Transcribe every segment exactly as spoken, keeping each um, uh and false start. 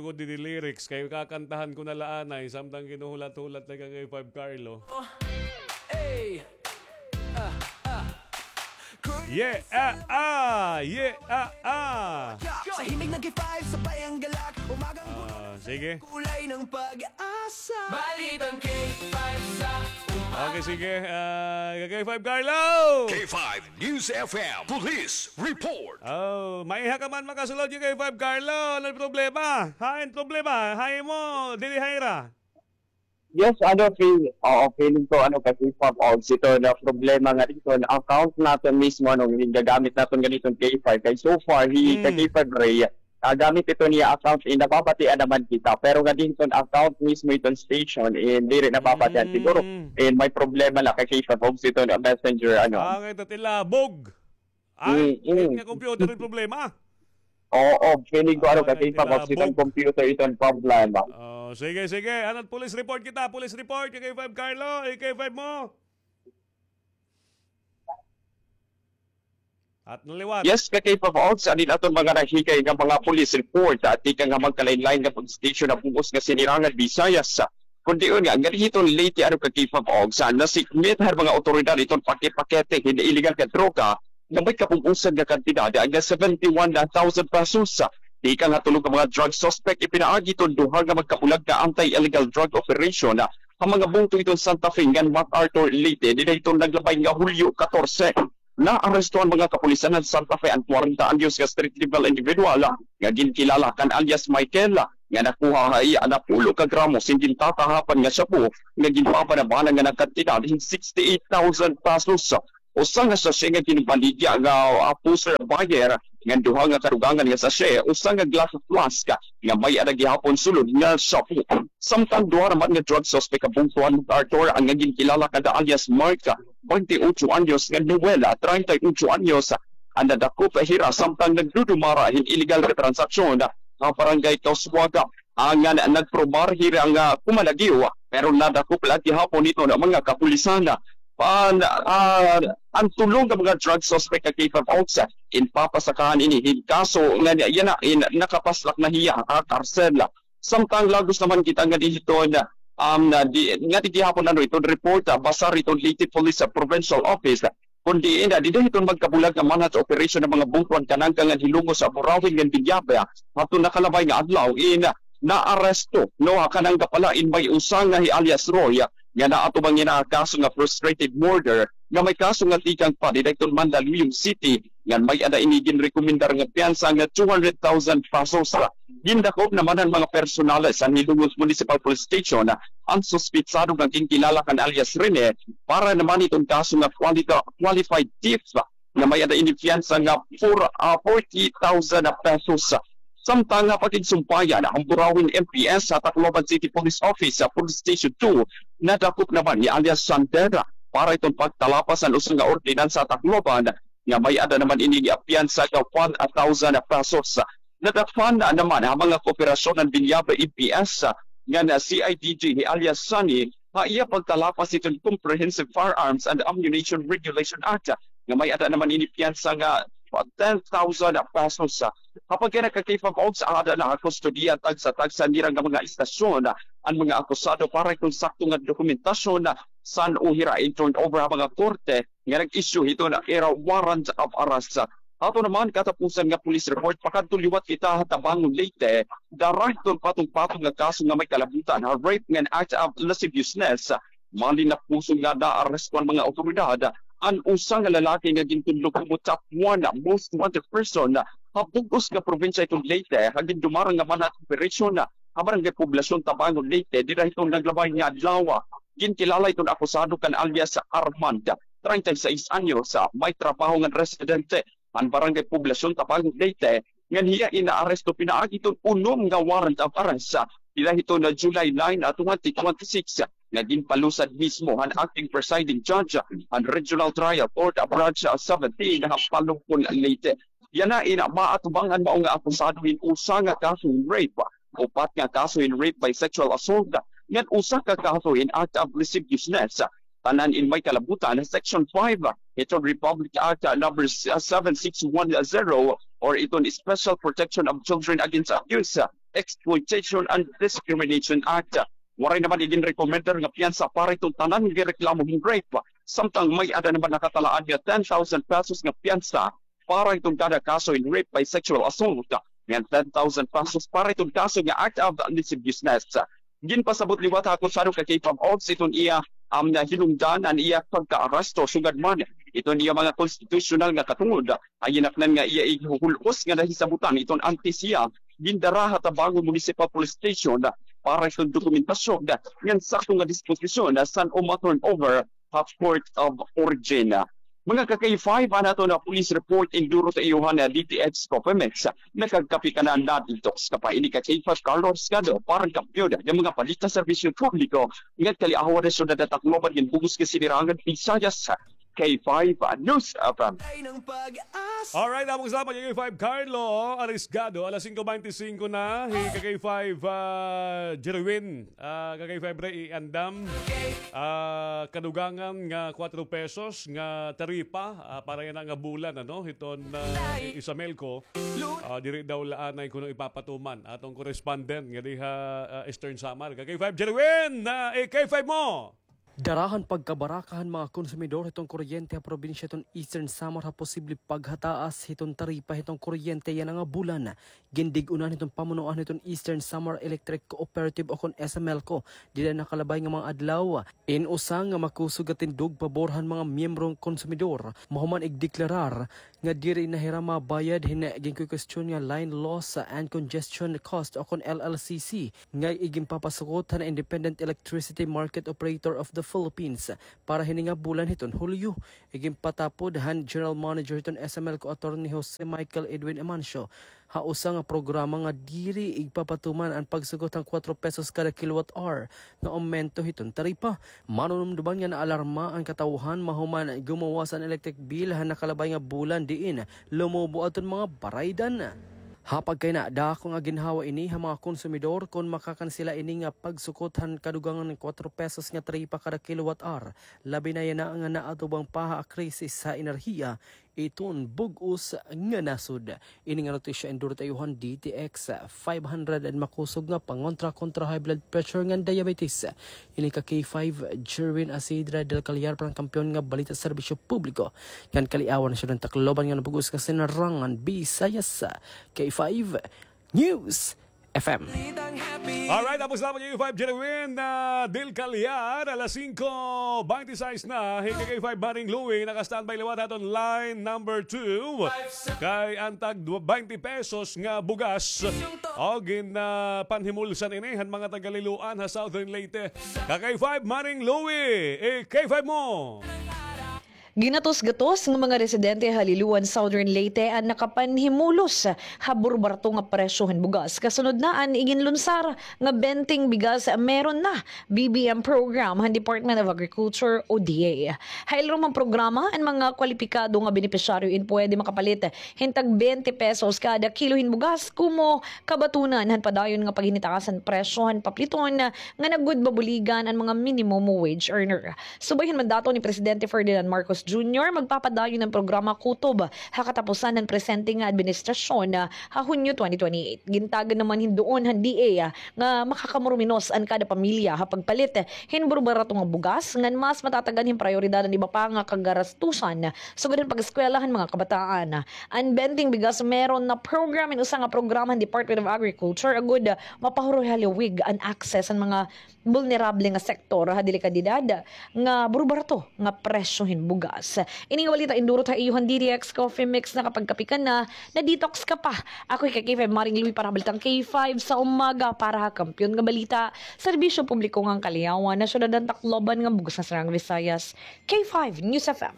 ko didi lyrics kay kakantahan ko na la anay, samtang ginuhulat-hulat na kay five Carlo. Hey! Ah, ah. Yeah, ah, ah! Yeah, ah, ah! Sa himig ng K five, sabay ang galak. Umagang Ah, sige. Kulay ng pag-asa. Balitang K five sa umaga. Okay, sige. Ah, K five Carlo! K five News F M Police Report. Oh, maiha ka man makasulod kay K five Carlo. Ano problema? Hain problema? Hain mo, dili haira. Yes, ano, feel, oo, feeling ko, ano, kasi pag also ito na problema nga dito, na account natin mismo, ano, yung gagamit natin ganitong K five. Kay so far, hi, Hmm. kay K five Ray, ah, gamit ito niya account, eh, nababatian naman kita. Pero nga din itong account mismo itong station, eh, diri nababatian. Hmm. Siguro, eh, may problema na kay K five Ogs ito na messenger, ano. Ah, nga ito, tilabog. Ah, Mm, mm. Nga computer yung problema. Oo, feeling ko, ano, Ah, kasi pag tilabog. Itong computer itong problema. Oh, sige, sige. Ano, police report kita, police report, K five Carlo, K five mo. At naliwat. Yes, ka K five Ogs, anin aton mga nahikay nga mga police report, at ika nga magkalain-lain nga pag-station na bugos nga sinirangan Visayas. Kundi yun nga, nga dito Leyte, ano ka K five Ogs, nasikmit har mga otoridad iton pakipakete hin illegal nga droga, nga may kabubusan nga kantidad, nga seventy-one thousand pesos. Ika nga tulo ka mga drug suspect ipinaagi iton duha nga magkabulag nga anti-illegal drug operation, ha mga bungto iton Santa Fe ngan MacArthur, Leyte, dida iton naglabay nga Hulyo katorse. Naaresto an mga kapulisan han Santa Fe an kwarenta anyos nga street level individual nga ginkilala kan alias Michael nga nakuha ha iya napulo ka gramo sin gintatahapan nga shabu nga ginpabanabana nga nagkantidad hin sixty-eight thousand pesos. Usa nga sachet nga ginbaligya nga, ah, pusher buyer nga duha nga kadugangan nga sachet, usa nga glass flask nga may-ada gihapon sulod nga shabu. Samtang duha naman nga drug suspect ha bungto han MacArthur, an nga ginkilala kada alias Mark, twenty-ocho anyos, ngan Noel, treinta y ocho anyos, an nadakop hira samtang nagdudumara hin illegal nga transaksyon ha Barangay Causuaga. An nga nagprobar hira nga kumalagiw, pero nadakop la gihapon iton mga kapulisan. An, ah, an tulo nga mga drug suspect nga K five Ogs, ginpapasakahan ini hin kaso nga yana in nakapaslak na hiya ha karsel. Samtang lagos naman kita nga didto na, um, na di, nga di gihapon ano iton report, ah, basar iton Leyte Police, ah, Provincial Office, kundi ina, dida hiton magkabulag nga manhunt operation nga mga bungto han Kanangka ngan hilungo sa Burauen ngan Villabe, ah, hadton nakalabay nga adlaw, ina, naaresto, no, ha Kanangka pala in may usa nga hi alias Roy, ah, nga naatubang ina ha kaso nga frustrated murder, nga may kaso nga tikang pa dida hiton Mandaluyong City, ngan may-ada ini ginrekomendar nga piyansa nga two hundred thousand pesos. Gindakop naman han mga personales han Hilongos Municipal Police Station an suspetsado nga ginkilala kan alias Rene para naman iton kaso nga qualita-, qualified thief nga may-ada ini piyansa nga for, ah, forty thousand pesos. Samtang ha pakigsumpayan han Burauen M P S ha Tacloban City Police Office, ah, Police Station two, nadakop naman ni alias Sander para iton pagtalapas han usa nga ordinansa ha Tacloban nga may-ada naman ini nga piyansa nga one thousand pesos. Nadakpan naman ha mga kooperasyon han Villabe M P S ngan C I D G hi alias Sunny ha iya pagtalapas hiton Comprehensive Firearms and Ammunition Regulation Act nga may-ada naman ini piyansa nga ten thousand pesos. Ha pagkadto ka K five Ogs, aada na ha kustodiya tagsa-tagsa nira nga mga istasyon an mga akusado para kon sakto nga dokumentasyon san-o hira i-turn over ha mga korte nga nag-issue hiton ira warrant of arrest. Ato naman katapusan nga police report, pakadto liwat kita ha Tabangon, Leyte, dara hiton patong-patong nga kaso nga may kalabutan ha rape ngan act of lasciviousness. Malinapuson nga naaresto an mga awtoridad an usa nga lalaki nga gintudlo nga top one most wanted person ha bug-os nga probinsya hiton Leyte ha gindumara nga manhunt operation ha Barangay Poblacion, Tabangon, Leyte, dida hiton naglabay nga adlaw. Ginkilala iton akusado kan alias Armand, treinta y seis anyos, may trabaho ngan residente han Barangay Poblacion, Tabangon, Leyte, ngan hiya in naaresto pinaagi hiton unom nga warrant of arrest dida hiton July nine, twenty twenty-six, nga ginpalusad mismo han acting presiding judge han Regional Trial Court, Branch seventeen, ha Palompon, Leyte. Yana in maatubang an mao nga akusado hin usa nga kaso hin rape, upat nga kaso hin rape by sexual assault, ngan usa ka kaso hin act of lasciviousness. Tanan in may kalabutan ha Section five hiton Republic Act number seven six one zero or iton Special Protection of Children Against Abuse. Exploitation and Discrimination Act. Waray naman iginrekomendar nga piyansa para iton tanan nga reklamo hin rape. Samtang may-ada naman nakatalaan nga ten thousand pesos nga piyansa para iton kada kaso in rape by sexual assault, ngan ten thousand pesos para iton kaso nga act of lasciviousness. Ginpasabot liwat ha akusado ka K five Ops iton iya, um, nahinungdan an iya pagkaaresto, sugad man iton iya mga konstitusyonal nga katungod, ha ginaknan nga iya ighuhul-os nga nahisabotan iton antes hiya gindara ha Tabangon Municipal Police Station para iton dokumentasyon ngan sakto nga disposisyon san-o ma-turn over ha court of origin. Mga ka-K five, an aton nga police report, induro ta iyo han D T H Coffee Mix. Nakagkape ka na, nadidtox ka pa. Ini ka K five Carlos Gado, para han kampiyon nga mga balita, serbisyo publiko, ngan kaliawan ha syudad han Tacloban ngan bug-os nga sinirangan Visayas, K five News F M. Alright, among salamat kay K five Carlo Arisgado. Alas singko bente singko na, hi ka K five, ah, Jerwin. Ah, ka K five Ray, iandam, ah, kadugangan nga kwatro pesos nga taripa, ah, para yana nga bulan, ano, hiton, ah, i-, Isamelco. Ah, diri daw la anay kuno ipapatuman. Aton correspondent nga diha, ah, Eastern Samar. Ka K five Jerwin, ah, eh, K five mo. Dara han pagkabaraka han mga konsumidor hiton kuryente ha probinsya hiton Eastern Samar ha posible paghataas hiton taripa hiton kuryente yana nga bulan. Gindig-unan hiton pamunuan hiton Eastern Samar Electric Cooperative o kon Isamelco dida nakalabay nga mga adlaw. In usa nga makusog nga tindog pabor han mga miyembrong konsumidor, mahuman igdeklarar nga diri na hira mabayad hin ginkukwestiyon nga line loss and congestion cost o kon L L C C nga iginpapasukot han Independent Electricity Market Operator of the Philippines para hini nga bulan hiton Hulyo. Iginpatapod han General Manager hiton Isamelco, Attorney Jose Michael Edwin Amancio, ha usa nga programa nga diri igpapatuman an pagsukot han kwatro pesos kada kilowatt hour nga aumento hiton taripa. Manunumduman nga naalarma an katawhan mahuman gumawas an electric bill han nakalabay nga bulan diin lumubo adton mga baraydan. Ha pagkayna, dako nga ginhawa ini ha mga konsumidor kon makakansela ini nga pagsukot han kadugangan nga kwatro pesos nga taripa kada kilowatt hour, labi na yana nga naatubang pa ha krisis ha enerhiya iton bug-os nga nasod. Ini nga notisya induro ta iyo han D T X five hundred and makusog nga pangontra kontra high blood pressure ngan diabetes. Ini ka K five Jerwin Asidra del Callar para han kampiyon nga balita, serbisyo publiko ngan kaliawan ha syudad han Tacloban ngan bug-os nga sinirangan Visayas, K five News F M. Alright, tapos lamang yung five Jerwin, ah, Del Callar, alas singko bente sais na, hi ka K five Maring Louie, naka-standby liwat aton line number two. Kay an tag twenty pesos nga bugas, o gin, ah, panhimulsan ini han mga taga Liloan ha Southern Leyte. Ka K five Maring Louie, eh, K five mo. Ginatos-gatos nga mga residente ha Liloan, Southern Leyte an nakapanhimulos ha burbarato nga presyo han bugas. Kasunod na an iginlunsar nga Benteng Bigas Meron Na B B M program han Department of Agriculture o D A. Ha ilarom han programa, an mga kwalipikado nga benepisyaryo in pwede makapalit hin tag bente pesos kada kilo hin bugas, komo kabatunan han padayon nga paghinitaas han presyo han papliton nga nagud mabuligan an mga minimum wage earner. Subay hin mandato ni Presidente Ferdinand Marcos Junior, magpapadayon an programa kutob ha katapusan han presente nga administrasyon, ah, ha Hunyo twenty twenty-eight. Gintagan naman hin duon han D A, ah, nga makakamuruminos an kada pamilya ha pagpalit hin burbarato nga bugas, ngan mas matatagan hin prayoridad an iba pa nga kagarastusan, sugad han pag-eskwela han mga kabataan. An Benteng Bigas Meron Na program in usa nga programa han Department of Agriculture agud, ah, mapahuroy ha liwig an access han mga bulnerable nga sektor ha delikadidad nga burbarato nga presyo hin bugas. Ini nga balita indurot ha iyo han D D X Coffee Mix. Nakapagkape ka na, na-detox ka pa. Ako hi ka K five Maring Louie para ha Balitang K five sa umaga para ha Kampiyon nga Balita, serbisyo publiko ngan kaliawan ha syudad han Tacloban ngan bug-os nga Sirang Visayas. K five News F M.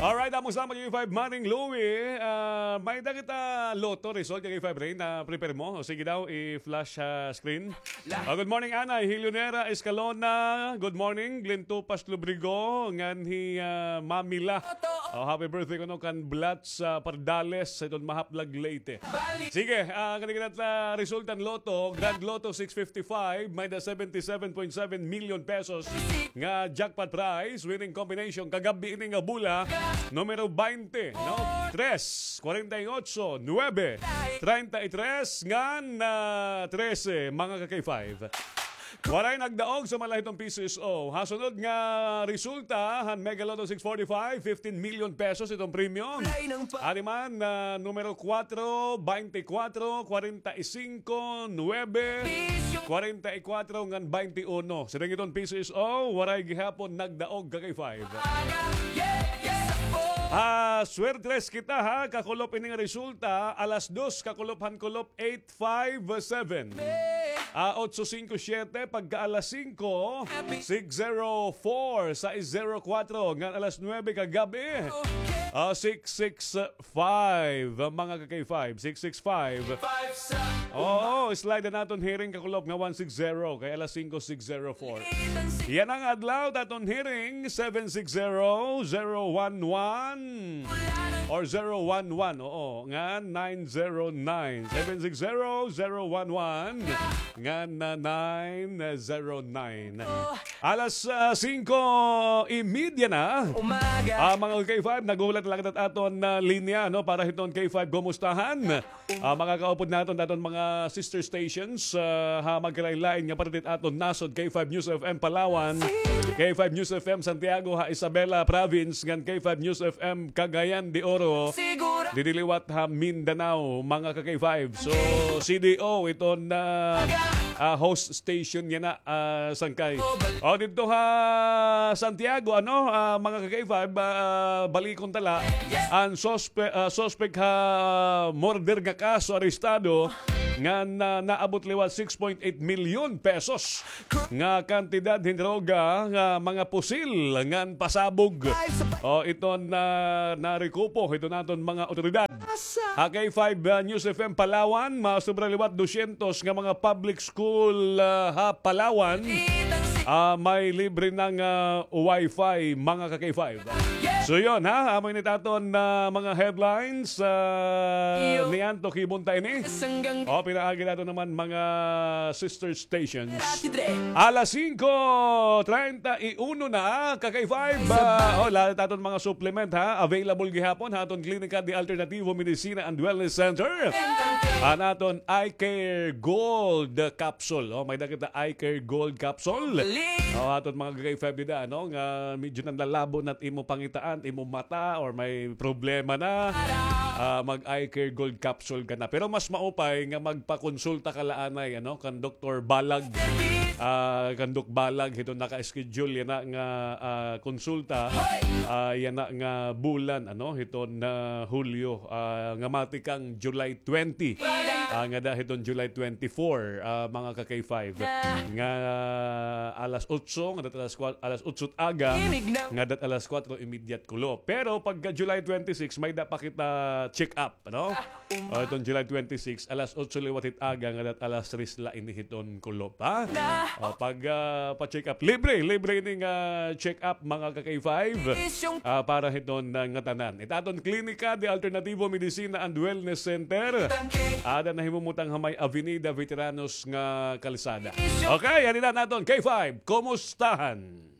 Alright, amo sa K five Maring Louie. Ah, may-ada kita lotto result kay K five Ray na prepare mo. O, sige daw, i-flash sa screen. Ah, good morning, Anay. Hi Leonera Escalona. Good morning, Glenn Tupas Lubrigo. Ngan hi, ah, Mamila. Oh, happy birthday kuno kan Blats, ah, Pardales, sa iton Mahaplag, Leyte. Sige, ah, kani kita resulta han Lotto, Grand Lotto six fifty-five, may da seventy-seven point seven million pesos nga jackpot prize, winning combination, kagab-i ini nga bola, numero baynte, no? Tres, kwarenta y ocho, nuebe, treinta y tres, ngan, ah, trese, mga ka-K five. Waray nagdaog, sumala hiton P C S O. Ha sunod nga resulta, han Mega Lotto six forty-five, fifteen million pesos iton premyo. Ari man, ah, numero kuwatro, baynte kuwatro, kwarenta y singko, nuebe, kwarenta y kuwatro, ngan baynte uno. Siring hiton P C S O, waray gihapon nagdaog, ka-K five. Ah, swertres kita, ha, kakulop ini nga resulta, alas dos, kakulop han kulop, eight five seven. Ah, otso singko siyete, pagka alas singko, six zero four, sais zero kuwatro, ngan alas nuebe kagab-i, ah, six six five, mga ka-K five, six six five. Oo, slide an aton hearing kakulop nga one six zero, kay alas singko, six zero four. Yana nga adlaw, it aton hearing, seven six zero, zero one one. Or zero one one, oo, ngan nine zero nine. Seven six zero, zero one one, ngan, ah, nine zero nine. Alas, ah, singko y media na. Ah, mga ka-K five, naghuhulat na la kita hit aton, ah, linya, no, para hiton K five Kumustahan. Ah, mga kaupod naton, aton mga sister stations, ah, ha magkalain-lain nga parte hit aton nasod, K five News F M Palawan, K five News F M Santiago ha Isabela Province, ngan K five News F M Cagayan de Oro, didi liwat ha Mindanao, mga ka-K five. So, C D O iton, ah, ah, host station yana, ah, sangkay. O, didto ha Santiago, ano, ah, mga ka-K five, ah, balikon ta la, an sospe-, ah, suspect ha murder nga kaso arestado, ngan naabot liwat six point eight milyon pesos nga kantidad hin droga nga mga pusil ngan pasabog. O, iton na, narekupo hiton aton mga awtoridad. Ha K five, ah, News F M Palawan, masobra liwat dosyentos nga mga public school, ah, ha Palawan, ah, may libre na nga, ah, wifi, mga ka-K five. So yun, ha, amo ini it aton, ah, mga headlines, ah, niyan to kibunta ini. O, pinaagi naton naman mga sister stations. Alas singko treinta y uno na, ka-K five. Ah, o, lahat aton mga supplement, ha, available gihapon ha aton Klinika de Alternativo Medicina and Wellness Center. An aton Eye Care Gold Capsule. O, may-ada kita Eye Care Gold Capsule. O, aton mga ka-K five dida, ano, nga medyo nanlalabo na it imo pangitaan, imo mata, or may problema na. Ah, mag-Eye Care Gold Capsule ka na. Pero mas maupay nga magpakonsulta ka la anay, ano, kan Doktor Balag. Ah, kan Dok Balag, hiton naka-schedule yana nga, ah, konsulta. Ah, yana nga bulan, ano, hiton Hulyo, ah, nga matikang July twenty. Ah, ngada hiton July twenty-four, ah, mga ka-K five. Nga, ah, alas otso, ngada hit alas kwa-, alas otso hit aga, ngada hit alas kwatro y media hit kulop. Pero pagka July twenty-six, may-ada pa kita check-up, ano? O, iton July twenty-six, alas otso liwat hit aga, ngada hit alas tres la ini hiton kulop, ha? O, pag, ah, pa-check up, libre, libre ini nga check up, mga ka-K five. Ah, para hiton, ah, ngatanan. It aton Klinika de Alternativo Medicina and Wellness Center. Ada nahimumutang ha may Avenida Veteranos nga kalsada. Okay, adi na it aton K five Kumustahan.